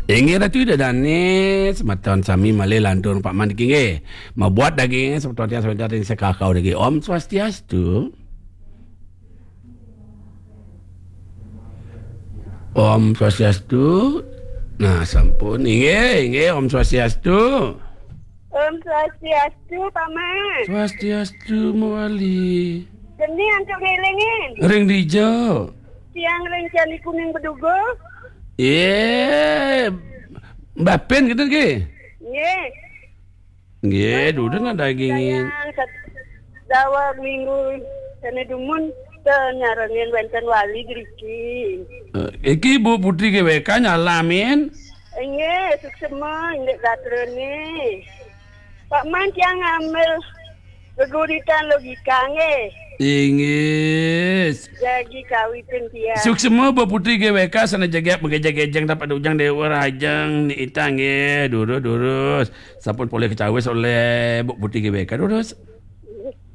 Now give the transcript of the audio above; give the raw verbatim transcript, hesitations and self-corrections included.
Inggih Ratu Ida Dané, semeton sami malih lantur Pak Man niki nggih. Mabuat daging semeton tiang semeton ring Sekakau niki. Om Swastiastu. Om Swastiastu. Nah, sampun. Inggih, inggih, Om Swastiastu. Om Swastiastu, Paman. Swastiastu, Mawali. Geni antuk ngelingin. Ring dija. Tiang ring Candi Kuning Beduga. Yé, Mbah Pin gitu nggih. Nggih. Nggih, dudu nak dagingin. Sayang, sat-, daweg minggu sané dumun, ten nyarengin wénten wali driki. Eh, iki Bu Putri G W K nyalamin. Inggih, suksema indik gatrané. Pak Man tiang ngambil geguritan logika nggih. Inggih. Jagi kawitin tiang. Suksema Bu Putri G W K sané jegég magejeg-gejeg dapat ujang Déwa Rajang ni itang nggih. Durus, durus. Sampun polih kacawis olih Bu Putri G W K. Durus.